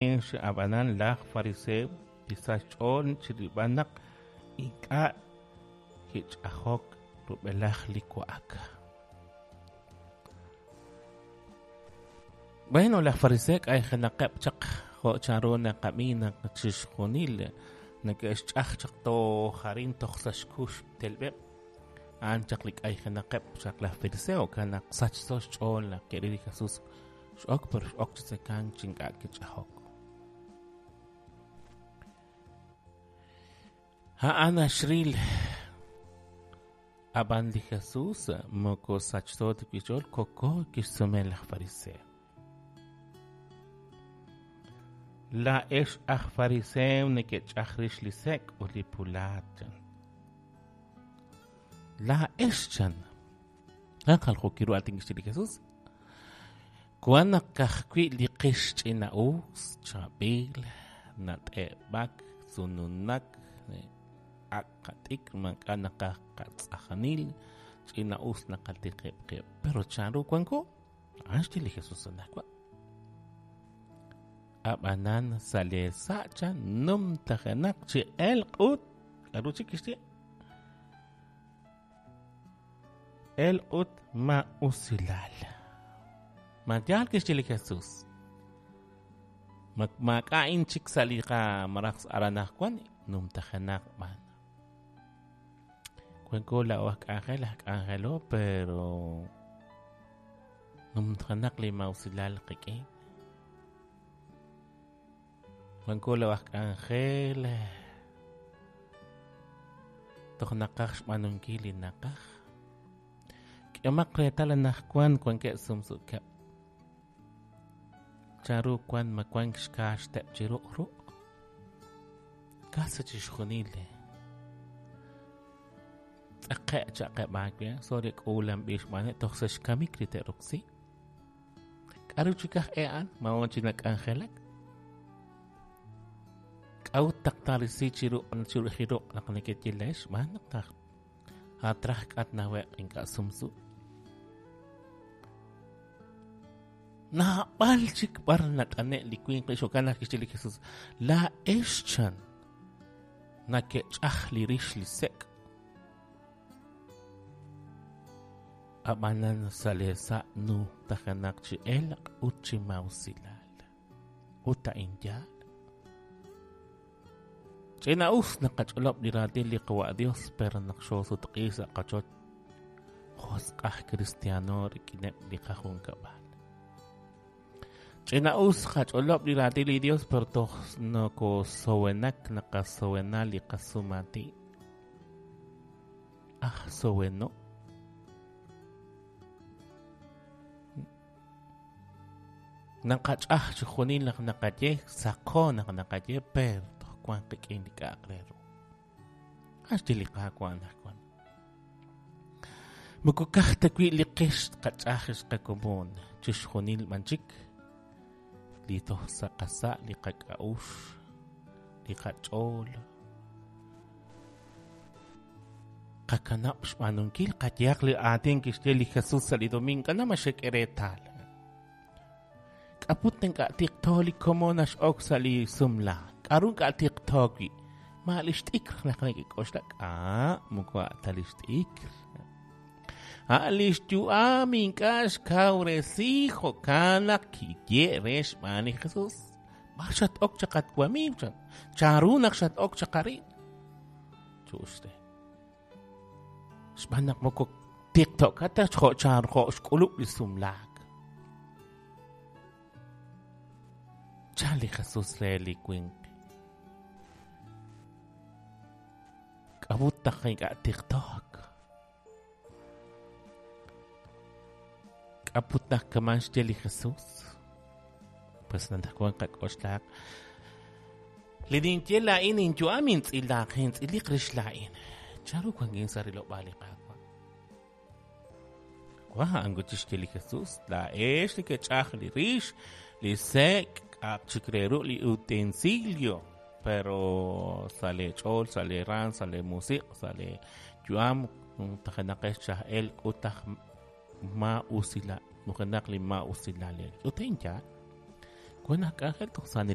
Ab'anan laj fariseo kisach xch'ool chi rilb'al naq ink'a' kich'ajok rub'elaj li wa'ak. Bueno, laj fariseo k'ayjenaqeb' chaq jo' chanru naqab'i naq chixjunil neke'xch'aj chaq toj arin toj sa' xkux telb'eb'. A'an chaq li k'ayjenaqeb' chaq laj fariseo, jo'kan naq sachso xch'ool naq ke'ril li Jesus x'ok pero x'ok chi tzekank chi ink'a' kich'ajok. A'an naxril ab'an li Jesus moko sachso ta wi' xch'ool, koko kixsume laj fariseo. Laa'ex aj fariseo nekech'aj rix li sek' ut li pulaat, chan. Laa'ex, chan. A'an jaljookil ru aatin kixye li Jesus. Wan naq ka'ajwi' li qix ch'ina'us, chaab'il, nat'eb'ak, sununak, ak' qat'ikr, maak'a' naqaj qatz'ajanil, ch'ina'us naqatiqib' qib'. Pero chanru wanko? A'an xye li Jesus anaqwan. Ab'anan sa' lee sa' chan numtajenaq chi elq' ut k'aru chik kixye? Elq' ut maa'usilal. Ma yaal kixye li Jesus? Ma maak'a' a'in chik sa' li qamaraj aran anaqwan? Numtajenaq b'an. Wanko laa'o aj k'anjel, aj k'anjelo, pero numtajenaq li maa'usilal qik'in. Wanko laa'o aj k'anjel, toj naqaj xb'aanunkil li naqaj. K'ehomaq reetal anaqwan wankeb' sumsukeb'. Chanru wank ma wank xkaaxteb' chi ruq' ruq'? Casi chixjunil tz'aqe' cha'qeb' aawe, sorry k'uulanb'il xb'aaneb' toj sa' xkamik li te'roksi. K'aru chik aj e a'an? Ma wan chi nak'anjelak? K'a'ut naq taarisi chiru chiru ruq' naq nekeye leex? Xb'aan naq taj atraj k'at nawe'q ink'a' sumsu. Naab'al chik b'ar nat'ane' li winq li jo'kan naq kixye li Jesus, laa'ex chan nakech'aj li rix li sek' Ab'anan sa' lee sa' numtajenaq chi elq' ut chi maa'usilal. Ut a'in yaal. Ch'ina'us naqach'olob' li raatin li Qawa' Dios, pero naq xoosutq'i sa' qochoch, josq' aj kristiano rik'ineb' li qajunkab'al. Ch'ina'us qach'olob' li raatin li Dios, pero toj nokosowenak naqasowena li qasumaatin. Aj soweno. Naqach'aj chixjunil naq naqaye, saqo naq naqaye, pero toj wank qik'in li k'a'aq re ru. Axye li Qaawa' anaqwan. Moko kaj ta wi' li qix tqach'aj ex qakomon, chixjunil b'an chik li toj sa' qasa' li qak'a'uxl, li qach'ool. Qakanab' xb'aanunkil, qayehaq li aatin kixye li Jesus sa' li domingo, k'ana ma xek'e reetal. K'aput ink'a' tiqto li komon nax'ok sa' li sumlaak? K'aru ink'a' tiqto wi'? Ma li xt'ikr naq nekek'oxla? K'a' moko a' ta li xt'ikr. A' li xyu'am ink'a' xkawresi jo'kan naq kiye' re xb'aan li Jesus. B'ar xat-ok chaq at wamiiw chan? Chanru naq xat-ok chaq arin? Chu'uxte. Xb'aan naq moko tiqto'kat ta jo' chan jo' xk'ulub' li sumlaak. Chan li Jesus re li winq. K'a'ut naq ink'a' tiqtook? K'a'ut naq kaman xye li Jesus? Pues anaqwan qak'oxlaq. Li ninye laa'in inyu'am intz'ilaq, intz'iliq rix laa'in. Chanru wankin sa' rilob'aal li Qaawa'? Wa a'an wi' chixye li Jesus, laa'ex nekech'aj li rix, li sek', k'a'aq chik re ru li utensilio, pero sa' lee ch'ool, sa' lee raam, sa' lee musiq', sa' lee yu'am, numtajenaqex chi aj elq' ut aj maa'usilal, nujenaq li maa'usilal. Ut a'in yaal. Wan aj k'anjel toj sa'